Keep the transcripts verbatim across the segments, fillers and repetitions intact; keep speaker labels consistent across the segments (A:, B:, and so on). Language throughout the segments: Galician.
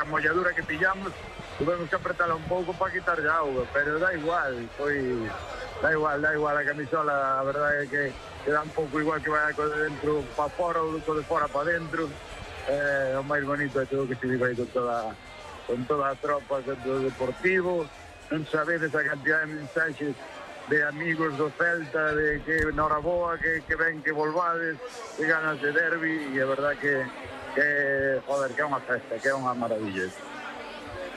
A: a molladura que pillamos, tuvemos que apretarla un pouco para quitar a auga, pero da igual, foi... Da igual, da igual a camisola, a verdade é que, que dá un pouco igual que vai co de dentro para fora ou co de fora para dentro. Eh, o máis bonito é todo que se vive aí con toda, con toda a tropa do Deportivo. Non sabedes a cantidad de mensaxes de amigos do Celta, de que noraboa, que, que ven que volvades, que ganas de derbi, e é verdad que, que, joder, que é unha festa, que é unha maravilla.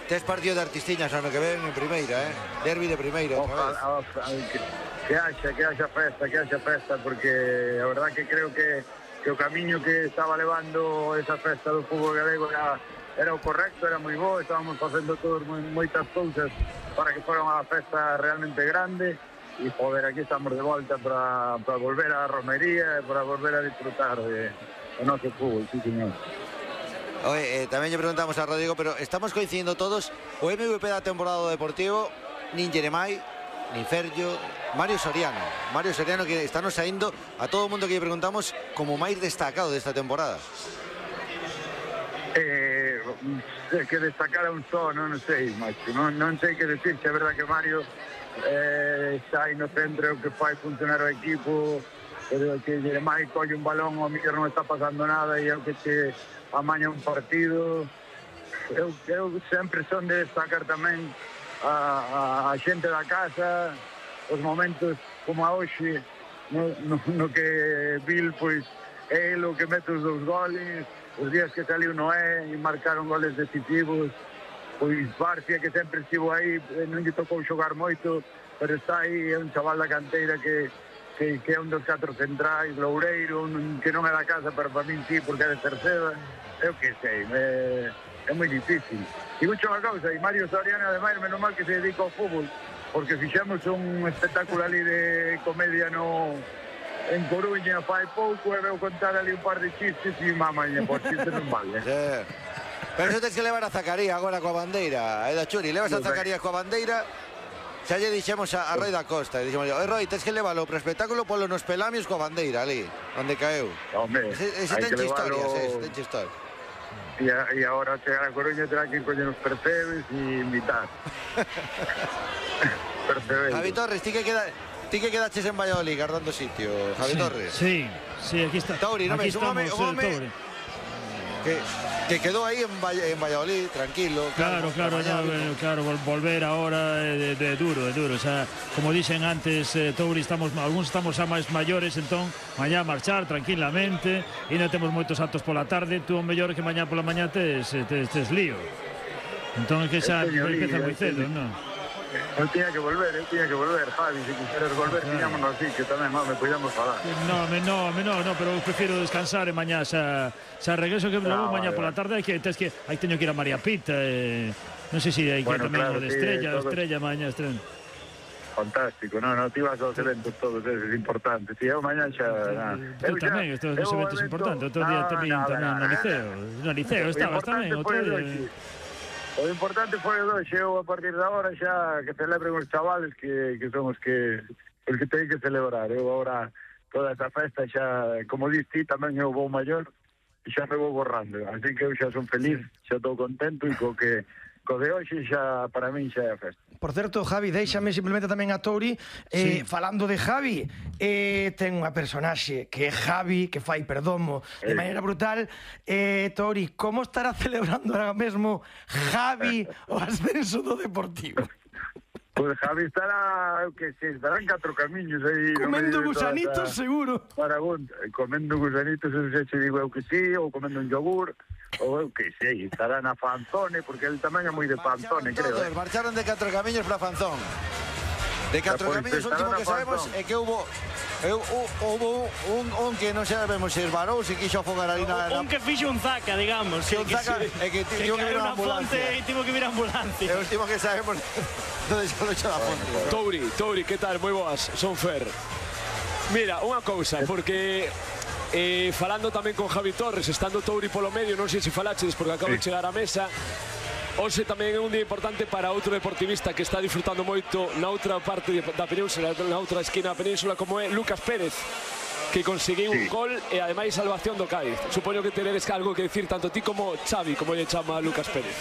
B: Tes partido de Artistiñas ano que ven en primeira, eh? Derbi de primeira outra vez.
A: Ojalá, ojalá, que, que haxa, que haxa festa, que haxa festa, porque a verdad que creo que, que o camiño que estaba levando esa festa do fútbol galego era, era o correcto, era moi bo, estábamos facendo todos moi, moitas cousas para que fora unha festa realmente grande, e joder, aquí estamos de volta para, para volver a romería e para volver a disfrutar de, de noso fútbol, sí señor.
B: Oye, eh, tamén lle preguntamos a Rodrigo, pero estamos coincidindo todos, o M V P da temporada do Deportivo, nin Jeremai, nin Ferllo, Mario Soriano. Mario Soriano que está nos saindo a todo o mundo que lle preguntamos como máis destacado desta temporada.
A: Eh, que destacar a un só, non sei, macho, non, non sei que decir, é verdad que Mario eh, está aí no centro, que fai funcionar o equipo, pero que Jeremai colle un balón, o mellor non está pasando nada, e é o que te amaña un partido. Eu, eu sempre son de destacar tamén a, a, a xente da casa, os momentos como a hoxe, no, no, no que Bill, pois, é o que mete os dous goles, os días que saliu Noé e marcaron goles decisivos, pois Barcia, que sempre estivo aí, non lle tocou xogar moito, pero está aí, é un chaval da canteira que Que, que é un dos catro centrais, Loureiro, un, que non é da casa, pero para min sí, porque é de Cerceda, eu que sei, é, é moi difícil. E mucho unha cousa, e Mario Soriano, ademais, menos mal que se dedica ao fútbol, porque fixemos un espectáculo ali de comedia no en Coruña fai pouco, e veu contar ali un par de chistes, e mamaña, por chistes non vale.
B: Sí. Pero eso tens que levar a Zacarías agora coa bandeira, eh, da Churi, levas a Zacarías coa bandeira. Xa lle dixemos a, a Roi da Costa, dixemos, oi Roi, tens que leválo para o espectáculo polo nos pelamios coa bandeira ali, onde caeu.
A: Hombre,
B: ese ese ten historias, ese ten historias.
A: E, a, e agora chegar a Coruña terá que coñer os percebes e invitar. Percebes.
B: Javi Torres, ti que queda... Ti que quedaches en Valladolid guardando sitio, Javi
C: sí,
B: Torres.
C: Sí, sí, aquí está.
B: Tauri, non ves, un home, un home que, que quedó aí en, Valle, en Valladolid, tranquilo.
C: Claro, claro, claro, no, claro, volver ahora de, de duro, de duro. O sea, como dicen antes, eh, Tauri, estamos, algunos estamos a máis maiores, entón, mañá marchar tranquilamente, e non temos moitos actos pola tarde, tú o mellor que mañá pola mañá tes, tes, tes lío. Entón, é que xa empeza moi cedo, non?
A: Eu tiña que volver, eu tiña que volver, Javi, se quixeras volver, claro. Tiñámonos así, que tamén, non, me podíamos falar.
C: No, me, no, me, no, no, pero prefiro descansar e mañá xa, xa regreso que no, mañá vale, pola tarde, hai que, tes que, hai teño que ir a María Pita, eh, non sei se hai que bueno, tamén claro, o de Estrella, sí, todo... Estrella, mañá, Estrella.
A: Fantástico, non, non, ti vas aos eventos todos esos importantes, e eu mañá xa...
C: Eu tamén, estou nos eventos importantes, outro día tamén no liceo, no liceo estabas tamén, outro día...
A: O importante foi o doxe, eu a partir de agora xa que celebren os chavales que, que son os que os que teñen que celebrar. Eu agora toda esa festa xa, como dis ti, tamén eu vou maior e xa me vou borrando. Así que eu xa son feliz, xa estou contento e co que co de hoxe xa para min xa é a festa.
D: Por certo, Javi, déixame simplemente tamén a Tauri eh, sí. Falando de Javi, eh, ten unha personaxe que é Javi, que fai perdomo de maneira brutal. eh, Tauri, como estará celebrando ahora mesmo Javi o ascenso do Deportivo?
A: Pois pues Javi estará, que se estarán catro camiños aí
D: comendo gusanitos, esa... seguro
A: para comendo gusanitos, non sei se digo eu que sí, ou comendo un yogur, ou eu que sei, estará na Fanzone, porque ele tamén é moi de Fanzone, creo.
B: Todos, eh. Marcharon de catro camiños para Fanzón. De catro pues, camiños, o último que sabemos é que hubo eu, hubo un, un que non sabemos se esbarou, se quixo afogar ali na...
E: Un que fixo un zaca, digamos.
B: Que un zaca, é que tivo que vir a ambulancia.
E: E tivo que vir a ambulancia.
B: É o último que sabemos onde se lo echa da fonte.
F: Tauri, Tauri, que tal? Moi boas, son Fer. Mira, unha cousa, porque... Eh, falando tamén con Javi Torres, estando Tauri polo medio, non sei se falaches porque acabo sí. de chegar á mesa. Hoxe tamén é un día importante para outro deportivista que está disfrutando moito na outra parte da península, na outra esquina da península, como é Lucas Pérez, que conseguiu sí. un gol e ademais salvación do Cádiz. Supoño que teredes algo que decir tanto ti como Xavi, como lle chama Lucas Pérez.